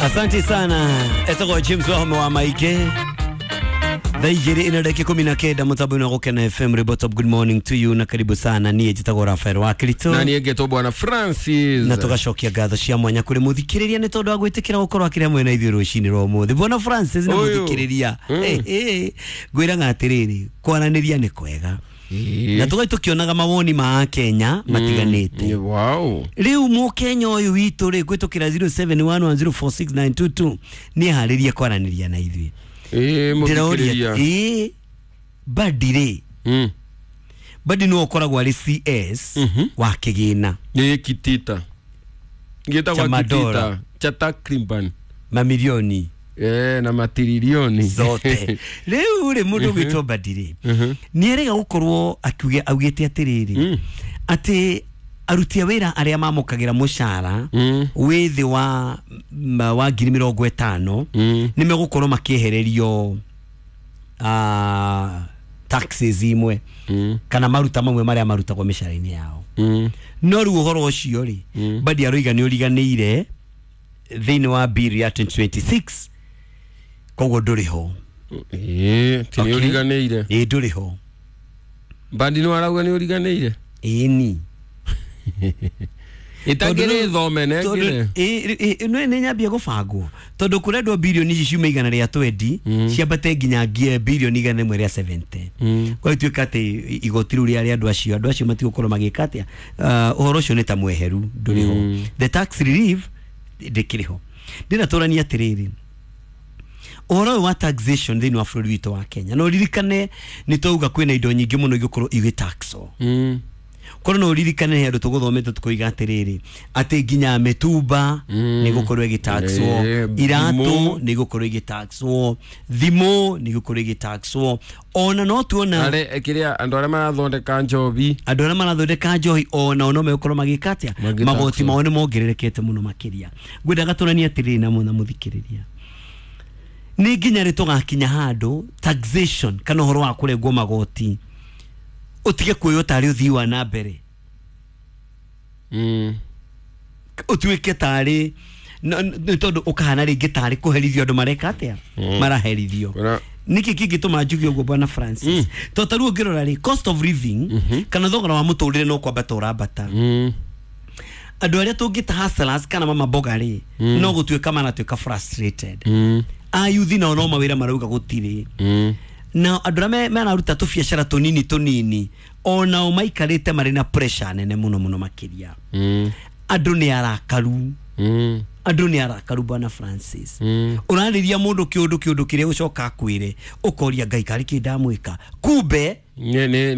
Asante sana etagwo James Wahome wa Maike thaa igĩrĩ ina dakika 19 mũtambo-inĩ wa Gũkena FM. Ribotop, good morning to you na karibu sana. Niĩ njĩtagwo Rafael wa Kirito na niĩ ngetwo bwana Francis, na tũgacokia ngatho cia mwanya kũrĩ mũthikĩrĩria nĩ tondũ wa gwĩtĩkĩra gũkorwo akĩrĩ hamwe na ithuĩ rũcinĩ rwa ũmũthĩ. Bwana Francis na Ũyũ. mũthikĩrĩria, ngwĩraga atĩrĩrĩ, kwaranĩria nĩ kwega na tũgai tũkĩonaga mawoni ma Akenya matiganĩte. Wow. Rĩu mũkenya ũyũ witũ rĩ kwĩtũkĩra 0711046922 nĩ eharĩrie kwaranĩria na ithuĩ. Ĩĩ, ndĩroria mũthikĩrĩria. Ĩĩ, Badi rĩ, Badi nĩwe ũkoragwo arĩ CS wa kĩgĩna. Nĩ kitita gĩtagwo Cha madola. kitita cha takriban Mamirioni na matiririoni zote. Rĩu rĩ, mũndũ ũgwĩtwo Badi rĩ, nĩ erega gũkorwo akiuga augĩte atĩrĩrĩ, atĩ aruti a wĩra arĩa mamũkagĩra mũcara wĩ thĩ wa 50,000 nĩ megũkorwo makĩehererio taxes imwe kana maruta mamwe marĩa marutagwo mĩcara-inĩ yao. No rĩu ũhoro ũcio rĩ, Badi aroiga nĩ ũriganĩire thĩinĩ wa bill ya 2026, koguo ndũrĩ ho. Ĩĩ, ti nĩ Okay. ũriganĩire. Ĩĩ, ndũrĩ ho. Bandi nĩ warauga nĩ ũriganĩire. Ĩni. Ĩtangĩrĩ thome nengĩre. Nĩ nyambia gũbangwo tondũ kũrendwo birioni ici ciuma 120 ciambate nginya birioni 170. Gwagĩtuĩka atĩ igoti rĩu rĩa andũ acio matigũkorwo magĩka atĩa, ũhoro ũcio nĩ ta mweheru, ndũrĩ ho. The tax relief ndĩkĩrĩ ho. Ndĩrenda tũranie atĩrĩrĩ, ũhoro ũyũ wa taxation thĩinĩ wa bũrũri witũ wa Kenya, no ririkane nĩ twauga kwĩna indo nyingĩ mũno igũkorwo igĩtaxwo. Korwo no ũririkane he andũ tũgũthomete tũkoiga atĩrĩrĩ, atĩ nginya mĩtumba nĩ gũkorwo ĩgĩtaxwo, iratũ thimũ. nĩ gũkorwo ĩgĩtaxwo, thimũ nĩ gũkorwo ĩgĩtaxwo, ona no tuona Arĩ kĩrĩa andũ arĩa marathondeka njobi. Andũ arĩa marathondeka njohi onao no megũkorwo magĩka atĩa? Magĩtaxwo. Magoti mao nĩ mongererekete mũno makĩria. Ngwendaga tũranie atĩrĩrĩ na mũthikĩrĩria, nĩ nginya rĩ tũgakinya handũ taxation kana ũhoro wa kũrengwo magoti ũtige kuoywo tarĩ ũthii wa na mbere, ũtuĩke tarĩ nĩ tondũ ũkahana rĩngĩ tarĩ kũherithio andũ mareka atĩa, maraherithio. Nĩkĩ kĩngĩtũma njuge ũguo, bwana Francis? To ta rĩu ũngĩrora rĩ, cost of living kana thogora wa mũtũrĩre no kwambata ũrambata. Andũ arĩa tũngĩta hustlers kana mama mboga rĩ, no gũtuĩka maratuĩka frustrated. Ayuthi nao no mawĩra marauga gũtirĩ, na andũ arĩa mararuta tũbiacara tũnini tũnini onao maikarĩte marĩ na pressure nene mũno mũno makĩria. Andũ nĩ arakaru. Andũ nĩ arakaru, bwana Francis. Ũrarĩria mũndũ kĩũndũ kĩrĩa gũcoka akwĩre, ũkoria Ngai karĩ kĩ ndamwĩka, kumbe Nĩ